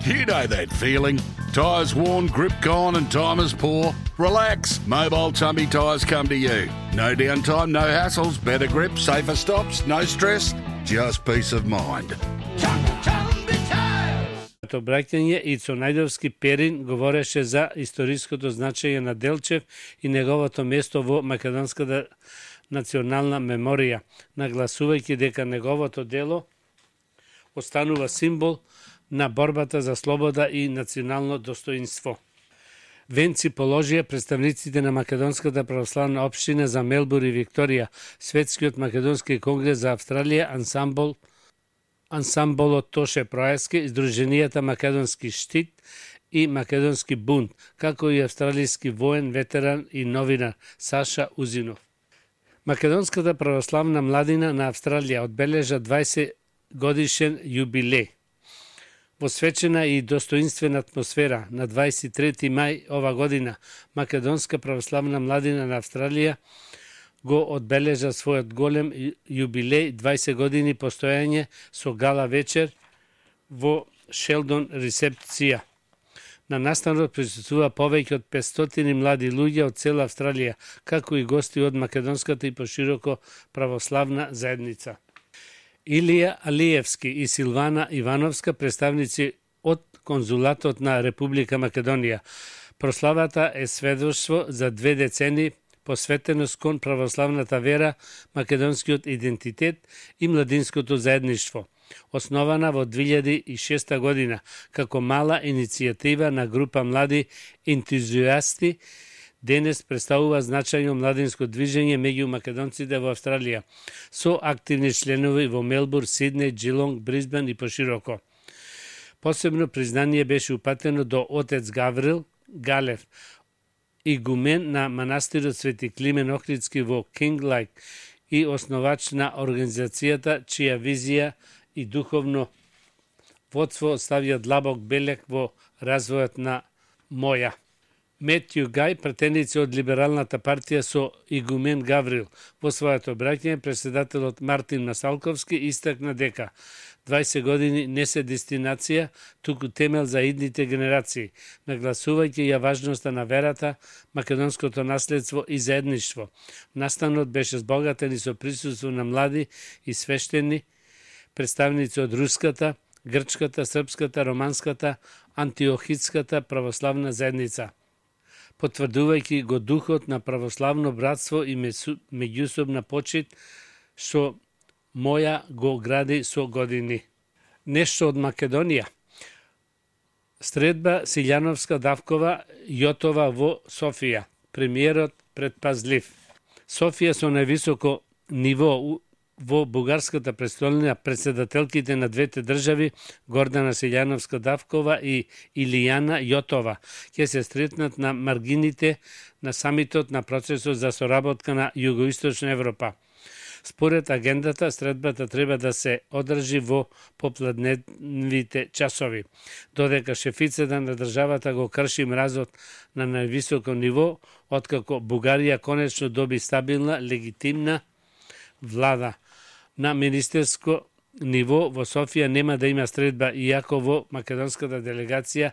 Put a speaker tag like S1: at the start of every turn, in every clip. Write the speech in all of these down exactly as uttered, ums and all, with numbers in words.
S1: You know that feeling. Tyres worn, grip gone and time is poor? Relax. Mobile Tumby Tyres come to you. No downtime, no hassles, better grip, safer stops, no stress, just peace of mind.
S2: Обраќање и Најдовски Перин говореше за историското значење на Делчев и неговото место во македонската национална меморија, нагласувајќи дека неговото дело останува символ на борбата за слобода и национално достоинство. Венци положија представниците на Македонската православна општина за Мелбур и Викторија, Светскиот македонски конгрес за Австралија, ансамбл ансамблот Тоше Проески, Сдруженијата Македонски штит и Македонски бунт, како и австралијски воен, ветеран и новинар Саша Узинов. Македонската православна младина на Австралија одбележа дваесет годишен јубилеј. Во свечена и достоинствена атмосфера на дваесет и трети мај ова година, Македонска православна младина на Австралија го одбележа својот голем јубилеј, дваесет години постојање со гала вечер во Шелдон ресепција. На настанот присуствува повеќе од петстотини млади луѓе од цела Австралија, како и гости од македонската и пошироко православна заедница. Илија Алиевски и Силвана Ивановска, представници од конзулатот на Република Македонија. Прославата е сведоштво за две децени посветеност кон православната вера, македонскиот идентитет и младинското заедништво, основана во две илјади и шеста година како мала иницијатива на група млади ентузијасти. Денес представува значајно младинско движење меѓу македонците во Австралија, со активни членови во Мелбур, Сиднеј, Джилонг, Брисбен и пошироко. Посебно признание беше упатено до отец Гаврил Галев, игумен на манастирот Свети Климен Охридски во Кинглайк и основач на организацијата чија визија и духовно водство ставија длабок белег во развојот на Моја. Метју Гај, пратеници од Либералната партија со игумен Гаврил, во својато обраќање председателот Мартин Масалковски истакна дека дваесет години не се дестинација, туку темел за идните генерации, нагласувајќи ја важноста на верата, македонското наследство и заедништво. Настанот беше збогатен и со присуство на млади и свештени, представници од руската, грчката, српската, романската, антиохидската православна заедница, потврдувајќи го духот на православно братство и меѓусобна почит, што Моја го гради со години. Нешто од Македонија. Средба Силјановска Давкова Јотова во Софија. Премиерот предпазлив. Софија со највисоко ниво во бугарската престолнина, председателките на двете држави Гордана Силјановска Давкова и Илијана Јотова ќе се сретнат на маргините на самитот на процесот за соработка на Југоисточна Европа. Според агендата, средбата треба да се одржи во попладневните часови, додека шефицата на државата го крши мразот на највисоко ниво, откако Бугарија конечно доби стабилна, легитимна влада. На министерско ниво во Софија нема да има средба, иако во македонската делегација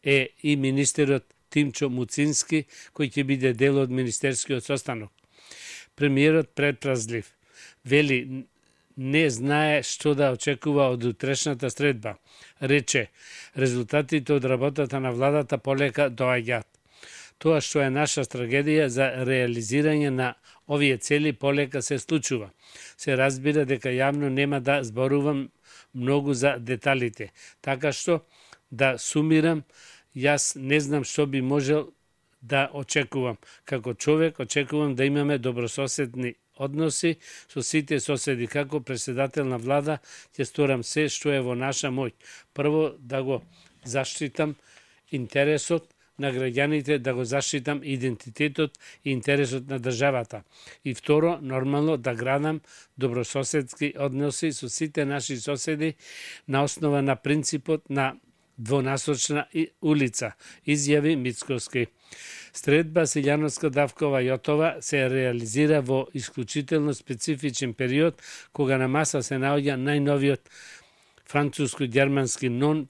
S2: е и министерот Тимчо Муцински, кој ќе биде дел од министерскиот состанок. Премиерот предпразлив. Вели, не знае што да очекува од утрешната средба. Рече, резултатите од работата на владата полека доаѓаат. Тоа што е наша трагедија за реализирање на овие цели полека се случува. Се разбира дека јавно нема да зборувам многу за деталите. Така што, да сумирам, јас не знам што би можел да очекувам. Како човек очекувам да имаме добрососедни односи со сите соседи. Како председател на влада ќе сторам се што е во наша моќ. Прво да го заштитам интересот на граѓаните, да го заштитам идентитетот и интересот на државата. И второ, нормално да градам добрососедски односи со сите наши соседи на основа на принципот на двонасочна улица, изјави Мицкоски. Средба Силјановска Давкова Јотова се реализира во исклучително специфичен период, кога на маса се наоѓа најновиот француско-германски нон